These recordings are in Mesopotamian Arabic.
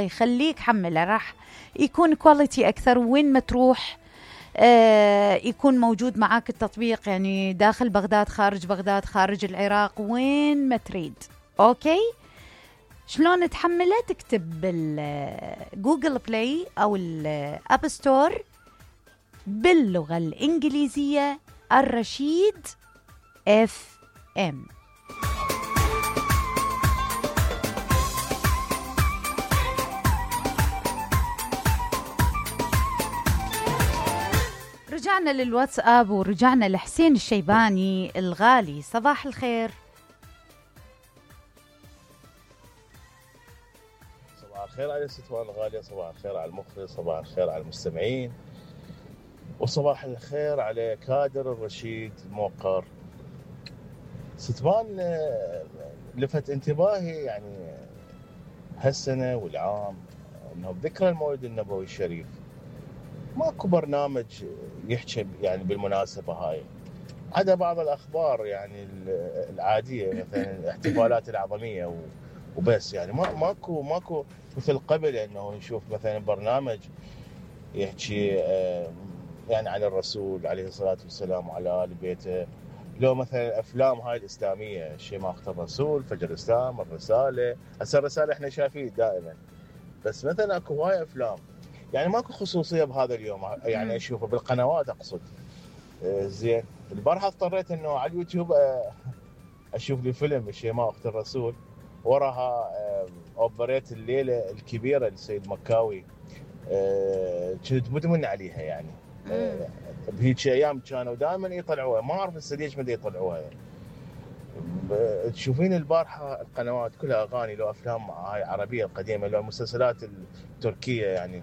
يخليك حمله، راح يكون كواليتي أكثر. وين ما تروح يكون موجود معاك التطبيق، يعني داخل بغداد، خارج بغداد، خارج العراق، وين ما تريد. أوكي، شلون تحمله؟ تكتب بالجوجل بلاي أو الأب ستور باللغة الإنجليزية الرشيد FM. رجعنا للواتساب ورجعنا لحسين الشيباني الغالي. صباح الخير. صباح الخير على ستوان الغالية، صباح الخير على المخرج، صباح الخير على المستمعين، وصباح الخير على كادر الرشيد الموقر. ستوان لفت انتباهي يعني هالسنة والعام انه بذكرى المولد النبوي الشريف ماكو برنامج يحكي يعني بالمناسبة هاي، عدا بعض الأخبار يعني العادية، مثلا الاحتفالات العظمية وبس. يعني ماكو مثل قبل انه نشوف مثلا برنامج يحكي يعني عن الرسول عليه الصلاة والسلام وعلى آل بيته، لو مثلا الأفلام هاي الإسلامية، شيء ما أخطر الرسول، فجر الإسلام، الرسالة. هسه الرسالة إحنا شايفين دائما، بس مثلا أكو هواي أفلام يعني ماكو خصوصية بهذا اليوم، يعني أشوفه بالقنوات أقصد. زين، البارحة اضطريت إنه على اليوتيوب أشوف لي فيلم شيء ما أخت الرسول، وراها أوبريت الليلة الكبيرة للسيد مكاوي، كنت مدمن عليها يعني. بهيك أيام كانوا دائما يطلعوها، ما أعرف هسه ليش ما يطلعوها يعني. تشوفين البارحة القنوات كلها أغاني، لو أفلام هاي عربية القديمة، لو المسلسلات التركية يعني.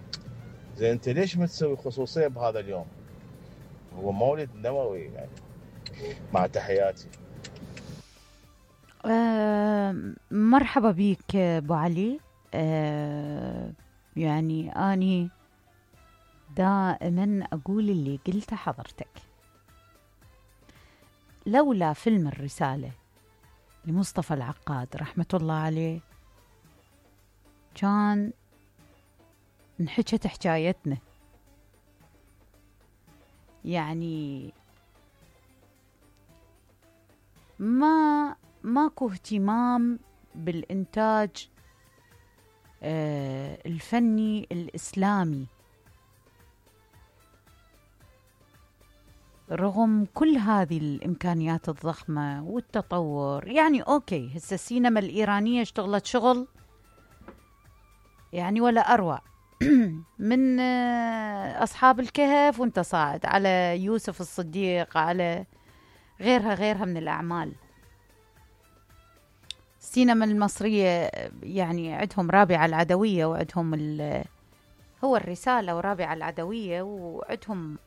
زين، أنت ليش ما تسوي خصوصية بهذا اليوم؟ هو مولد نبوي يعني. مع تحياتي. مرحبا بيك أبو علي. يعني أني دائما أقول اللي قلته حضرتك، لولا فيلم الرسالة لمصطفى العقاد رحمة الله عليه كان انحكت حكايتنا. يعني ماكو اهتمام بالإنتاج الفني الإسلامي رغم كل هذه الإمكانيات الضخمة والتطور. يعني أوكي، هسه السينما الإيرانية اشتغلت شغل يعني ولا أروع من أصحاب الكهف وانت صاعد على يوسف الصديق، على غيرها من الأعمال. السينما المصرية يعني عندهم رابعة العدوية، وعندهم هو الرسالة ورابعة العدوية، وعندهم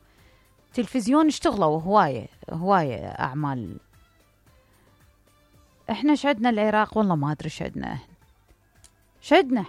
تلفزيون اشتغلوا هواية أعمال. احنا شعدنا العراق والله ما أدري شعدنا احنا